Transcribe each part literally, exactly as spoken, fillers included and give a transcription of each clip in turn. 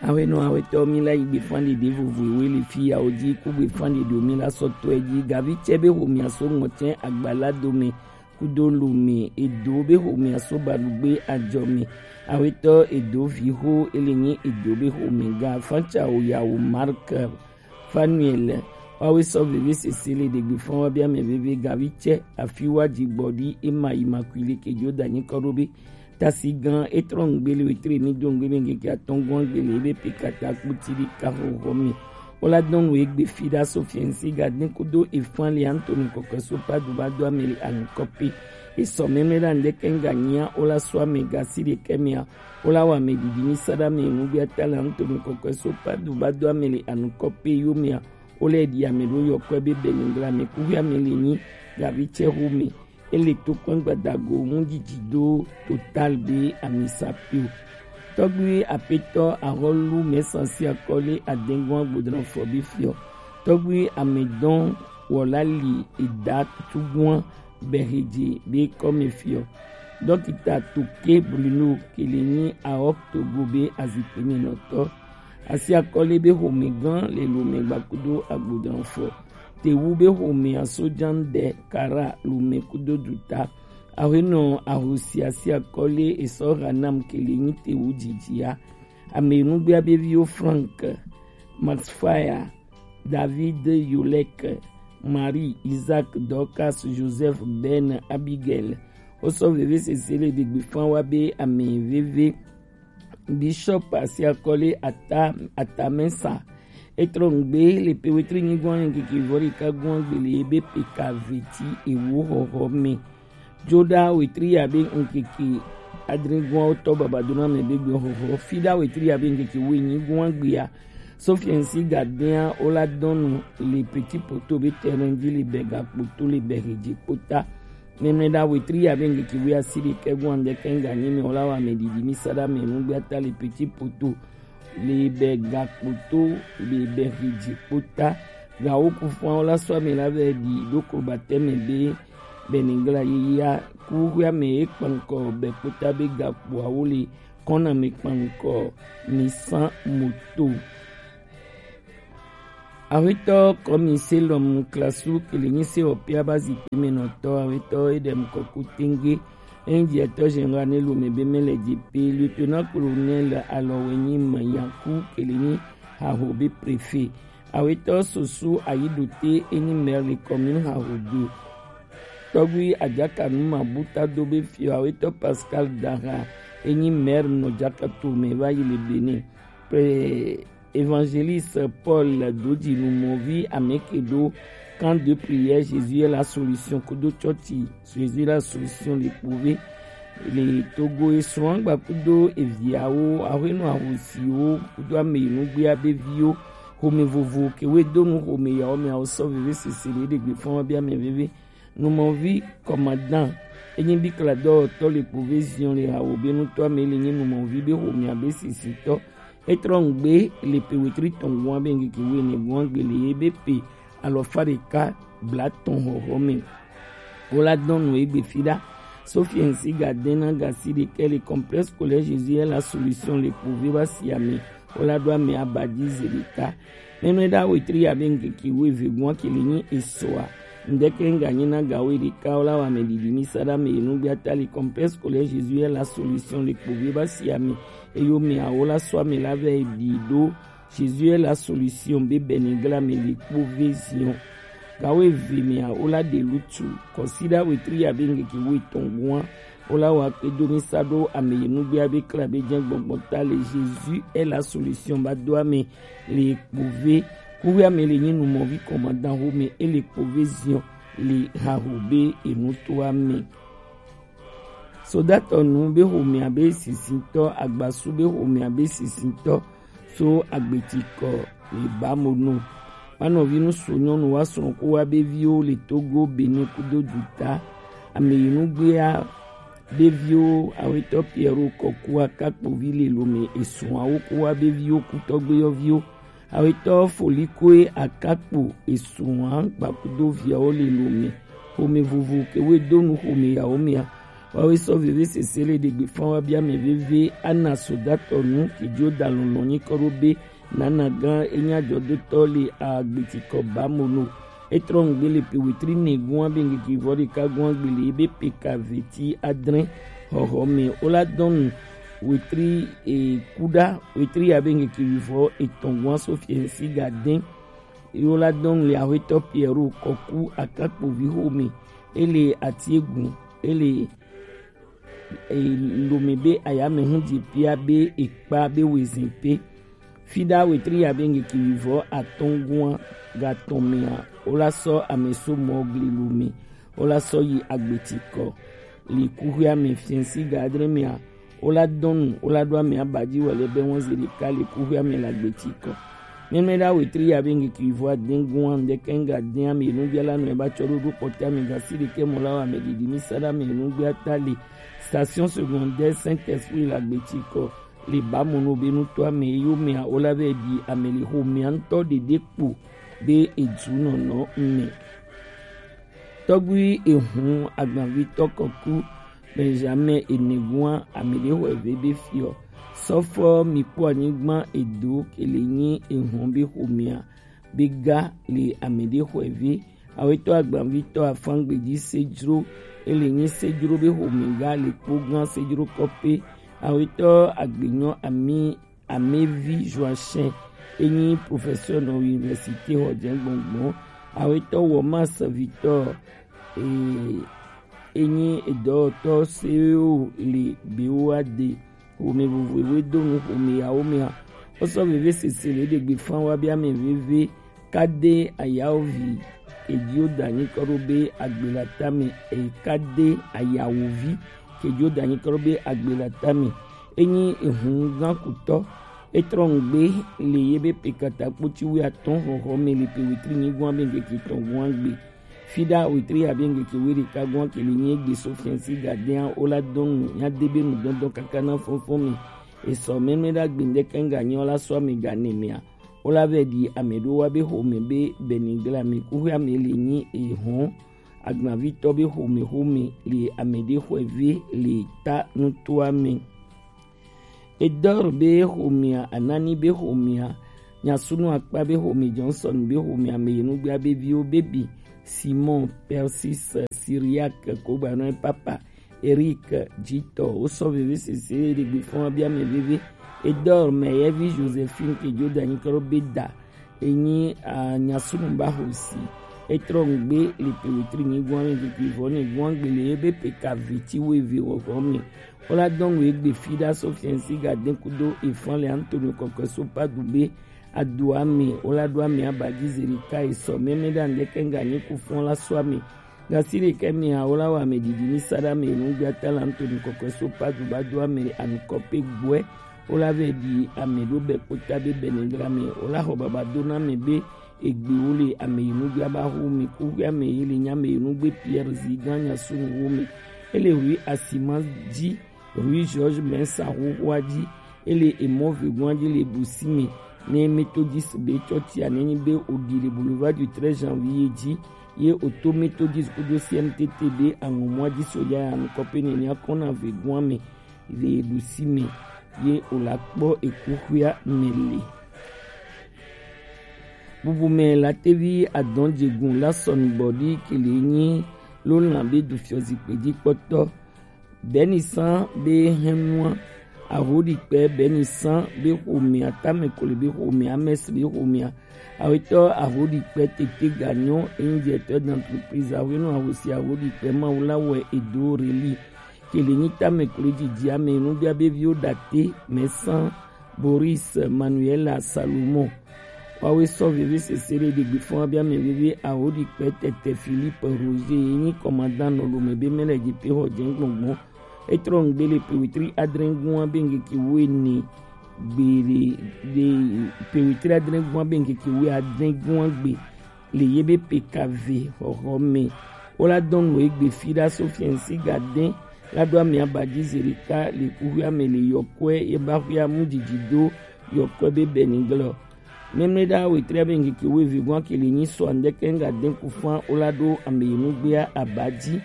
Awenɔ awetɔ mi la yi gbefan ɖeɖe vovo ewe le fi yawo ji ku gbefan ɖeɖe mi la sɔ tɔɛ ji gavi cɛ be homia so ŋɔtɛ agbala dome kudo lome edo be homia so balugbe ajɔ me. Awetɔ edo vi ho ele nyi edo be home ga fanca o yawo Mark Fanuel. Wawe sɔ veve sese le ɖegbe fɔn wa bia mɛ veve gavi cɛ afi wa ji gbɔ ɖi ema yi ma kui le kejo da nyi kɔ ɖo be tasi gan etrɔ ŋgbe le wetre ni do ŋgbe be ŋkeke atɔn gɔn gbe le ebe pe kata kputi ɖi ka xɔxɔ mi. Wola dɔn nu egbe fi ɖa so fiɛnsi ga den kudo efan le Anthony kɔkɔ so pa do ba do ame le anukɔ pe. Esɔ mɛmɛ ɖa ŋdɛkɛ ŋga nyia wola so ame ga si ɖekɛ mia. Wola wa ame ɖiɖi mi sa ɖa ame nugbe ata le Anthony kɔkɔ so pa do ba do ame le anukɔ pe yo mia. Wola ɖi ame ɖo yɔkɔ be bɛnɛngla me kuhi ame le nyi gavi cɛ ho me. Ele to kpɛn gbadago ŋu dzidzi do total be amisa pio. Tɔgbi apetɔ ahɔlu mɛsansi akɔle adengɔn agbodran fɔ bi fiɔ. Tɔgbi amedɔn wɔla li eda tuguan bɛhedze be kɔme fiɔ. Dɔkita Toke Bruno kele nyi aɔk togo be azikpe me nɔtɔ. Asi akɔle be home gan le lome gbakudo agbodran fɔ. Tewu be home asojan ɖe kara lome kudo duta. Awenɔ ahosi asi akɔle esɔ hanam kele nyi tewu dzidzia. Ame nugbea be viwo Frank, Max Fire, David Yolek, Marie, Isaac, Dorcas, Joseph, Ben, Abigail. Wosɔ veve sese le ɖegbe fan wa be ame veve. Bishop asi akɔle ata atamɛsa. Etrɔ ŋgbe le pe wetri nyigbɔn ŋkeke vɔ ɖeka gbɔn gbele ebe pe ka veti ewo xɔxɔ me. Joɖa wetri abe ŋkeke adre gbɔn wotɔ babadona me be gbɔn xɔxɔ. Fiɖa wetri abe ŋkeke wo nyigbɔn gbea. Sofiɛnsi gadea wola dɔnu le Petit Poteau be terrain ji le bɛ gakpoto le bɛ hedze kpota. Mɛmlɛɖa wetri abe ŋkeke wuiasiɖekɛ gbɔn ŋdɛkɛ ŋganyi mɛ wola wa mɛ ɖiɖi mi sa ɖa mɛ nugbe ata le Petit Poteau le bɛ gakpoto le bɛ hedze kpota. Gawo kufuawo la sɔ ame la vɛ ɖi ɖo krobatɛ mɛ be bɛnigla yeyea kuxuia mɛ ye kpankɔ bɛ kpota be gakpoawo le kɔna mi kpankɔ mi san moto. Awetɔ kɔmi selɔm klasu kele nyi se ɔpia ba zikpui me nɔtɔ awetɔ edem kɔku tenge. Enyi diɛtɔ général ne lome be mele dzi pe lieutenant colonel alɔwe nyi me yanku kele nyi haho be préfet. Awetɔ soso ayidote enyi maire le commune haho do. Tɔgbi Adjaka Numa Buta do be fiɔ awetɔ Pascal Dara enyi maire nɔ Djaka to me va yi le Benin. Pe Évangéliste Paul Dodji Numɔvi ameke ɖo camp de prière Jésus est la solution kudo chɔchi Jésus est la solution le kpove le Togo esrɔ̃ agba kudo eviawo ahwenu ahosiwo kudo ame nugbea be viwo home vovo kewe donu home yawo me awo sɔ veve sese le ɖegbe fɔn bi ame veve. Numɔvi kɔmadan enyi bi kla dɔwɔtɔ le kpove zion le hawo be nutɔ ame le nyi numɔvi be home abe sisitɔ. Etrɔ ŋgbe le pe wetri tɔn gɔn be ŋkeke wene gɔn gbe le ye be pe alɔfa ɖeka blatɔn hɔhɔ me. Wola dɔn nu egbe fi ɖa. Sofiɛnsi ga dena gasi ɖekɛ le complexe scolaire Jésus est la solution le kpove ba si ame. Wola ɖo ame abadzi ze ɖeka. Mɛmɛ ɖa wetri abe ŋkeke weve gɔn kele nyi esɔa. Ŋdɛkɛ ŋganyi na gawo ɖeka wola wa ame ɖiɖi mi sa ɖa me enugbe ata le complexe scolaire Jésus est la solution le kpove ba si ame. Eyo me awo la sɔ ame la vɛ ɖi ɖo Jésus est la solution be bɛnigla me le kpove zion. Gawo eve me awo la ɖe lutu kɔsiɖa wetri abe ŋkeke wo etɔn gɔn. Wola wa kpe do mi sa ɖo ame yi nugbea be kla be jɛ gbɔgbɔ ta le Jésus est la solution ba do ame le kpove. Kuwe ame le nyi numɔvi kɔmadan ho me ele kpove zion le haho be enutoa me. Sodatɔ nu be homea be sisitɔ, agbasu be homea be sisitɔ, so agbetikɔ le bamonu. Manɔvi nu so nyɔnu wa srɔ̃ ko wa be viwo le Togo, Benin kudo duta. Ame yi nugbea be viwo awetɔ Pierrot Kɔkua kakpovi le lome esrɔ̃awo ko wa be viwo kutɔgbeyɔviwo. Awetɔ Folikoe Akakpo esrɔ̃a gbakudo viawo le lome. Home vovo kewe donu home yawo mea. Wawe sɔ veve sese le ɖegbe fɔn wa bia mɛ veve ana sodatɔ nu kejo da lɔlɔ nyi kɔ ɖo be nana gan enya jɔdotɔ le agbetikɔ ba mono. Etrɔ ŋgbe le pe wetri ne gua be ŋgeki vɔ ɖeka gua gbe le ebe pe ka veti adre hɔhɔ me. Ola dɔnu wetri e kuɖa wetri ya be ŋgeki vɔ etɔn gua so fiɛnsi ga dɛn. Ye wola dɔn le Aƒetɔ Pierre Kɔku Akakpovi xome. Ele Atiegun. Ele e, Lome be ayame hu dzi pia be ekpa be wezin pe. Fida wetri ya be ŋgeki wivɔ atɔngua gatɔn mea, wola sɔ ame so mɔ gli Lome. Wola sɔ yi agbeti kɔ. Le kuxia me fiɛnsi ga adre mea, wola dɔnu, wola ɖo ame abaji wale be wɔn zi ɖeka le kuxia me le agbeti kɔ. Mɛmɛ ɖa wetri ya be ŋgeki vɔ adengua ŋdɛkɛ ŋga den ame nu bia la nɔ eba tsɔ ɖo ɖo kpɔtɛ ame gasi ɖekɛ mɔ la wa ame didi mi sa ɖa ame nu gbia ta le station secondaire Saint-Esprit le agbeti kɔ le ba mo no be nutɔ ame yo mea wola be di ame le xo mea ŋtɔ ɖeɖe kpo be edu nɔnɔ me. Tɔgbui ehun agbavitɔ kɔku Benjamin Enegua ame ɖe xɔ eve be fiɔ. Sɔfɔ mi kpɔ anyigba edo kele nyi ehun be xomea be ga le ame ɖe xɔ eve. Awetɔ agbavitɔ afangbeji sejro ele nyi sejro be xome ga le kpo gan sejro kɔpe. Awetɔ agbenyɔ ami Amevi Joachim enyi professeur nɔ université xɔ jɛ gbɔngbɔn. Awetɔ wɔ ma serviteur e enyi edɔtɔ sewo le bewo ade xome vovovowo do nu xome yawo mea. Wosɔ veve sese le ɖegbe fan wa be ame veve kade ayawovi kedziwo da nyikɔ ɖo be agbela tame e kade ayawovi kedziwo da nyikɔ ɖo be agbela tame. Enyi ehun gan kutɔ. Etrɔ ŋgbe le ye be pe kata kpoti wi atɔn xɔxɔ me le pe wetri nyigua be ŋgeki tɔn gua gbe. Fida wetri ya be ŋgeki weri ka gua ke le nye gbe so fiansi gadea o la dɔn nu nya de be nu dɔndɔn kaka na fɔnfɔn me. Esɔ mɛmɛ ɖa gbe ŋdɛkɛ ŋga nyɔ la sɔ ame ga ne mea. O la vɛ ɖi ame ɖo wa be xome be bɛnigla me kuxia me le nyi ehɔn agbavitɔ be xome xome le ame ɖe xɔe ve le ta nutoa me. Edɔr be xomea, Anani be xomea, Nyasunu Akpa be xome, Johnson be xomea, ame yi nugbea be viwo be bi Simon, Persis, Syriac, kogbanɔ papa, Eric, Jitɔ, wosɔ veve sese ɖe gbe fɔn bia ame veve. Edɔr me ye vi Josephine ke Joda nyi kɔ be da. Enyi a Nyasunu ba xosi. Etrɔ ŋgbe le pe wetri nyi guan le keke vɔ ne guan gbe le ebe pe ka veti wo eve wɔ xɔ me. Wola dɔn wo egbe fi ɖa so fiɛnsi ga den kudo efan le Antonio kɔkɔe so pa du be adu ame wola do ame aba dzi zeri ka esɔ mɛmɛ ɖa ŋdɛkɛ ŋga nyi ku fɔn la so ame. Gasi ɖekɛ mea wola wɔ ame didi ni sa ɖa ame enu gbia ta la Antonio kɔkɔe so pa du ba do ame anukɔ pe gbɔɛ. Wola vɛ ɖi ame ɖo bɛ kpota be bɛnɛgra me. Wola xɔ baba do na ame be egbe wo le ame yi nugbe aba xo me kuxi ame yi le nya ame yi nugbe Pierre zi gan nya sunu wo me. Ele rue Asima dzi, rue Georges Mensa xoxoa dzi. Ele emɔ vegoa dzi le busi me. Ne Methodist be tsɔtia ne nyi be odi le boulevard du treize janvier dzi. Ye oto Methodist kudo C M T T be aŋɔmɔa dzi soja ya nukɔ pe ne nya kɔna vegoa me. Le ɖusi me ye wòla kpɔ ekuxia me le. Bubu me la tevi adɔn dzegun la sɔnu bɔdi kele nyi lo lan be du fiɔ zikpe dzi kpɔtɔ. Benisan be hɛnua ahoɖikpɛ Benisan be xomea Tamekole be xomea Amɛsi be xomea awetɔ ahoɖikpɛ tete ganyɔ enyi directeur d'entreprise ahwenu ahosi ahoɖikpɛ mawu la wɛ edo reli. Kele nyi tame klo dzidzi ame nubia be viwo ɖate Mɛsan Boris Manuela Salomon. Wawe sɔ veve sese ɖe ɖegbe fɔn abi ame veve ahoɖikpɛ tete Philippe Roger ye nyi commandant nɔ lome be mɛ le dzi pe xɔ dze gbɔngbɔn. Etrɔ ŋgbe le pewetri adre gua be ŋkeke wo ene gbe le le pewetri adre gua be ŋkeke wo adre gua gbe. Le ye be pekave xɔxɔ me. Wola dɔn no egbe fi ɖa so fiɛnsi ga dɛn la ɖo ame aba dzi zi ɖeka le kuxia me le yɔkɔe ye ba xia mu dzidzi do yɔkɔe be bɛniglɔ. Mɛmlɛ ɖa wetria be ŋkeke wo evi gua ke le nyi sɔ andɛkɛ ŋga dɛn ku fan wola ɖo ame yi nugbea aba dzi.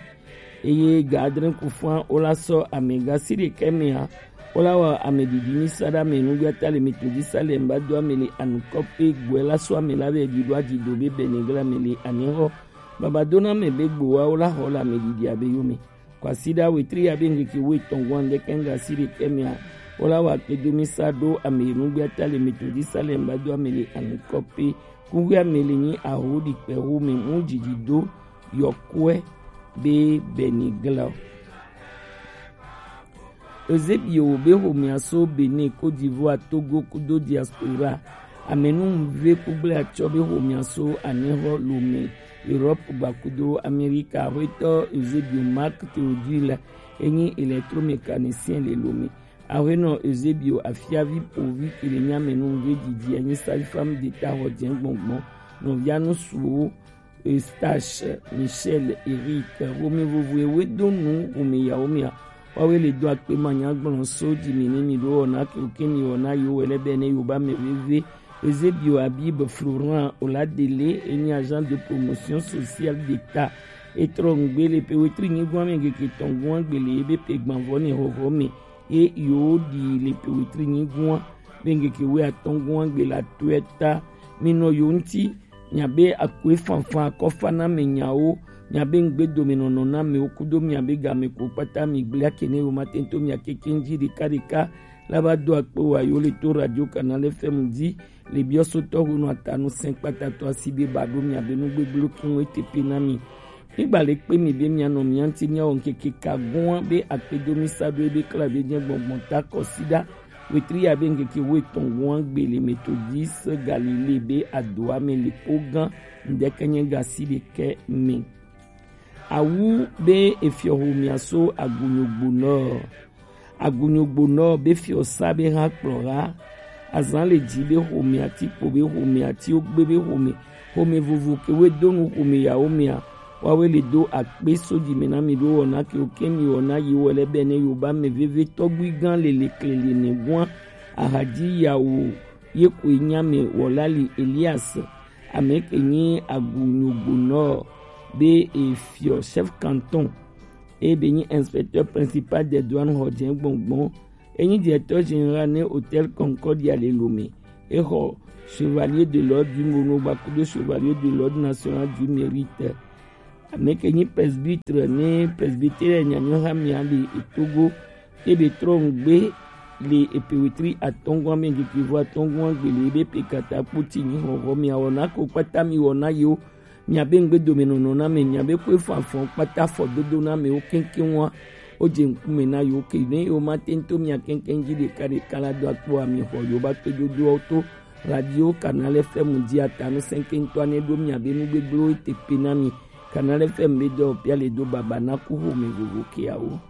Eye ga adre ku fua wo la sɔ ame ga si ɖekɛ mea, wo la wa ame ɖiɖi mi sa ɖe ame nugbiata le Metodisa le ŋba do ame le anukɔ pe gbɔe la sɔ ame la be ɖi ɖo aji do be bɛnɛ gla me le anyɛxɔ. Baba do na ame be gbowa wo la xɔ le ame ɖiɖi abe yome. Kwasiɖa wetri ya be ŋkeke wo etɔn gɔn ɖekɛ ŋga si ɖekɛ mea, wo la wa kpedo mi sa ɖo ame nugbiata le Metodisa le ŋba do ame le anukɔ pe. Kuxi ame le nyi aho ɖi kpɛ xo me mu ɖiɖi do yɔkuɛ be bɛnɛ gla o. Eusebio be xomea so Benin, Côte d'Ivoire, Togo kudo diaspora. Amenuve kugble atsɔ be xomea so anyɛxɔ Lomé, Europe gba kudo Amérique. Axwetɔ Eusebio Marc Théodule enyi électromécanicien le Lomé. Axwenɔ Eusebio afiavi povi ke le nyi amenuve didi enyi sage-femme d'État xɔ jɛ gbɔngbɔn. Nɔvia nusuwo Eustache, Michel, Eric, Romi vovo ewe do nu Romi yawo mia. Wawe le do akpe ma nya gblɔn so ji mi ni mi ɖo wɔna ke oke mi wɔna yo wɛ lɛ bɛ ne yo ba mɛ veve. Eusebio, Habib, Florent, Oladele enyi agent de promotion sociale d'État. Etrɔ ŋgbe le pe wetri nyi gwan mi ŋkeke tɔn gwan gbe le ebe pe gbanvɔ ne xɔxɔ mi. E yo ɖi le pe wetri nyi gwan be ŋkeke wɛ atɔn gwan gbe la toɛ ta. Mi nɔ yo ŋti. Miabe akue fanfan akɔfa na me nyawo, miabe ŋgbedomenɔnɔ na mewo kudo miabe game ko kpata mi gblea ke ne yo ma tento mia kekeŋ ji ɖeka ɖeka. La ba do akpe wa yo le to Radio Canal F M ji le biɔsotɔ honu atanu sɛn kpata to asi be ba ɖo miabe nugbegblẽ keŋ ete pe na mi. Mi gba le kpe mi be mia nɔ mia ŋti mia wɔ ŋkeke ka gɔn be akpedo mi sa ɖo ebe kla be jɛ gbɔngbɔn ta kɔsiɖa. Wetri ya be ŋkeke wo etɔn gɔn gbe le Methodiste Galilée be adoa me le kpo gã ŋdɛkɛ nyɛ ga si ɖekɛ me. Awu be efiɔ xomea so Agunyogbo nɔ. Agunyogbo nɔ be fiɔ sa be hã kplɔ ha. Azan le ji be xomea ti kpo be xomea ti wo gbe be xome. Xome vovo ke we do nu xome yawo mea. Wawe le do akpe so ji me na mi ɖo wɔna ke wo ke mi wɔna yi wɔ lɛ bɛ ne yo ba me veve tɔgbui gã le le kle le ne gwan. Ahadzi yawo ye koe nya me wɔla li Elias. Ame ke nyi Agunyogbo nɔ be efiɔ chef canton. Eye be nyi inspecteur principal des douanes xɔ jɛ gbɔngbɔn. Enyi directeur général ne Hôtel Concordia le Lomé. Exɔ Chevalier de l'Ordre du Mono gba kudo Chevalier de l'Ordre National du Mérite. Ame ke nyi presbytre ne presbytere nyanyɔ ha mia le etogo. Ebe trɔ ŋgbe le epe wetri atɔngɔn ame ŋkeke vo atɔngɔn agbe le ebe pe kata kpoti nyi xɔxɔ mia wɔna ko kpata mi wɔna yewo. Miabe ŋgbedomenɔnɔ na me, miabe koe fanfan kpata fɔdodo na me wo keŋkeŋ wa. Wo je ŋkume na yo ke ne yo ma tento mia keŋkeŋ ji ɖeka ɖeka la do akpo ami xɔ yo ba kpedodoawo to Radio Canal F M ji atanu sɛnkeŋtɔ ane ɖo miabe nugbegblẽwo ete pe na mi. Canal F M be dɔ pia le do baba na ku xome vovo keawo.